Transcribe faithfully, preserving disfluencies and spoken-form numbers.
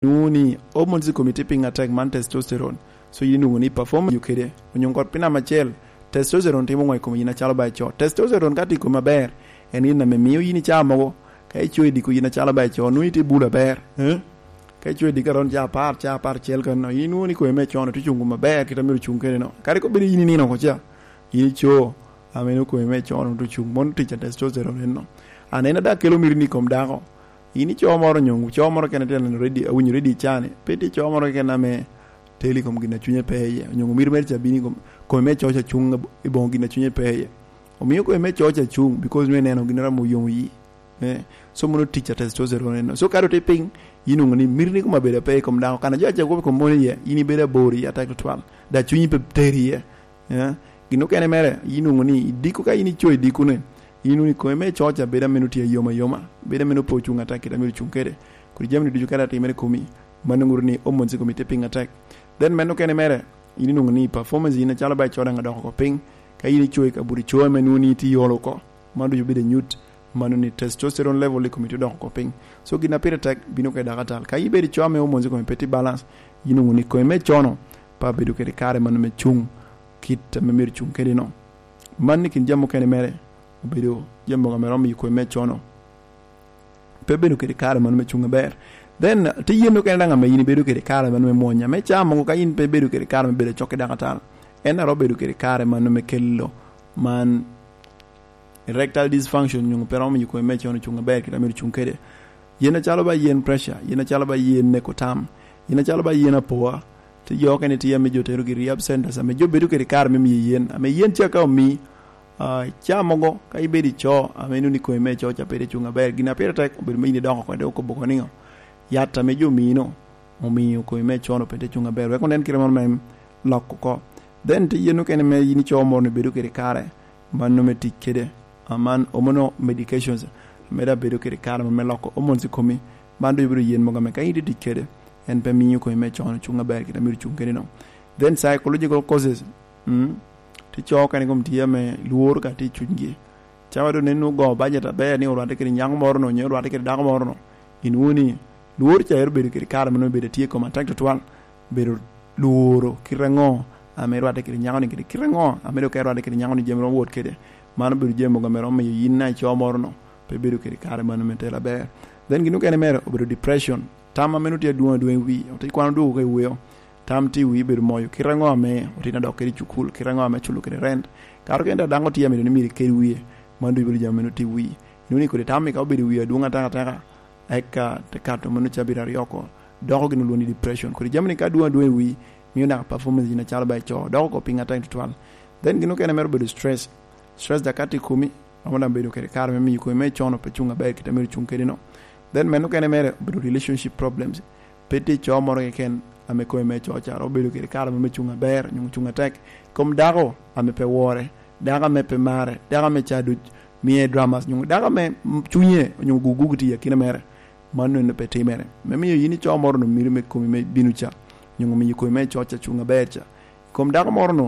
nwoŋo ni hormones i komi tye piny atek, man testosterone. So yin inwoŋo ni performance yo kede, onyo kot piny namba acel, testosterone timo ŋo i komi yin acalo ba ico? Testosterone ka tye i komi aber, en yin ame mio yin i caa mogo, ka ico i diko yin acalo ba ico, nwoŋo itye bulo aber, eh? Ka ico i diko aron caa apar, caa apar cel kanno, yin nwoŋo ni komi me con-nu tye cuŋ maber, kit a myero cuŋ kede no. Kadi kobedo yin inino oko ca, yin ico, ame nwoŋo komi me con-nu tye cuŋ, mono tic a testosterone enno. Anena daŋ kelo miti ni i kom dako. Yin ico moro onyo co moro kene tye neno ready, awinyo ready i caa-ni, pe tye co moro keken ame telo i kom gin a cunye pe iye, onyo miti mere ca bino i kom, komi me co ca cuŋ i boŋo gin a cunye pe iye. Omio komi me co ca cuŋ, because nwoŋo ineno gin a romo yomo yi. Eh, so mono tic a testosterone enno. So ka doŋ tye piny, yin onwoŋo ni miti ni kom abedo ape i kom dako. Kana jo aca kop i kom mono iye, yin ibedo abor iye atek tutwal. Da cunyi pe teri iye. Eh, gin okene mere, yin onwoŋo ni i diko, ka yin ico i diko-ni, yin onwoŋo ni komi me co ca bedo ame nwoŋo tye ayoma ayoma, bedo ame nwoŋo pe ocuŋ atek kit a myero ocuŋ kede. Kodi jami-ni ducu kadi atimere i komi, mano ŋuto ni hormones i komi tye piny atek. Then meno okene mere, yin inwoŋo ni performance yin acalo ba ico daŋ adoko oko piny, ka yin ico i kabuto ico ame nwoŋo ni itye iolo oko, mano ducu bedo anyut, mano ni testosterone level i komi tye odoko oko piny. So gin a pire tek bino kede dako atal. Ka ibedo ico ame hormones i komi pe tye balance, yin onwoŋo ni komi me co-nu pe abedo kede kare mano me cuŋ kit ame myero cuŋ kede no. Man i kin jami okene mere obedo jami mogo ame romo i komi me co-nu. Pe bedo kede kare mano me cuŋ aber. Then, tye yen okene daŋ ame yin ibedo kede kare mano me mwonya. Me caa mogo ka yin pe ibedo kede kare me bedo acok ki dako atal, en a romo bedo kede kare mano me kelo man erectile dysfunction, onyo pe romo miyo komi me con ocuŋ aber kit a myero ocuŋ kede. Yen acalo ba yen pressure, yen acalo ba yen neko tam, yen acalo ba yen apoa, tye jo okene tye ame jo terogi i rehab centers, ame jo bedo kede kare me miyo yen, ame yen ca ka omi, ah, caa mogo, ka ibedo ico, ame nwoŋo ni komi me co ca pe tye cuŋ aber, gin a pire tek obedo me yin idoko oko, dok okobo oko niŋo? Yat ame jo omino, omiyo komi me con-nu pe tye cuŋ aber, wek onen kite moro me lok oko. Then tye yen okene me yin ico moro ni bedo kede kare, mano me tic kede, aman omono medications, ame daŋ bedo kede kare moro me loko hormones i komi, man doŋ ibino yen mogo ame ka in itye tic kede, en pe miyo komi me con ocuŋ aber kit a myero ocuŋ kede no. Then psychological causes, mm, tye co okene kom tye ame lworo ka tye i cunygi. Cawa doŋ nen ogo bajet aber ni orwatte kede nyako moro no, onyo orwatte kede dako moro no. Inwoŋo ni lworo ca ero bedo kede kare ma nwoŋo bedo tye i koma tek tutwal. Bedo lworo kite aŋo ame irwatte kede nyako-ni, kede kite aŋo ame dok ka irwatte kede nyako-ni jami romo wot kede. Mano bedo jami mogo ame romo miyo yin na ico moro no pe bedo kede kare mano me telo aber. Then gin okene mere obedo depression. Tam ame nwoŋo tye adwoŋ adwoŋ i wii, ote kwano dwogo ka i weo. Tam tye i wii bedo moyo. Kite aŋo ame otino adok kede i cukul, kite aŋo ame culo kede rent. Kato kene daŋ dako tye ame dong myero ikel wie, mano ducu bedo jami ame nwoŋo tye i wii. Inwoŋo ni kodi tam-mi ka obedo i wii adwoŋ ataka ataka, eka te kato mano cabit aryo oko, doko gin olwongo ni depression. Kodi jami-ni ka adwoŋ adwoŋ i wii, mio naka performance yin acalo ba ico doko oko piny atek tutwal. Then gin okene mere obedo stress. Stress daŋ ka tye i komi, romo daŋ bedo kede kare me miyo komi me con-nu pe cuŋ aber kit a myero cuŋ kede no. Then meno okene mere obedo relationship problems. Pe tye co moro keken ame komi me co ca romo bedo kede kare mo me cuŋ aber, onyo cuŋ atek. Kom dako ame pe wore, dako ame pe mare, dako ame ca duc miye dramas, onyo dako ame cunye onyo gugugu tye i akina mere, mano en pe timere. Me miyo yin ico moro-nu mito me komi me bino ca, onyo miyo komi me co ca cuŋ aber ca. Kom dako moro-nu,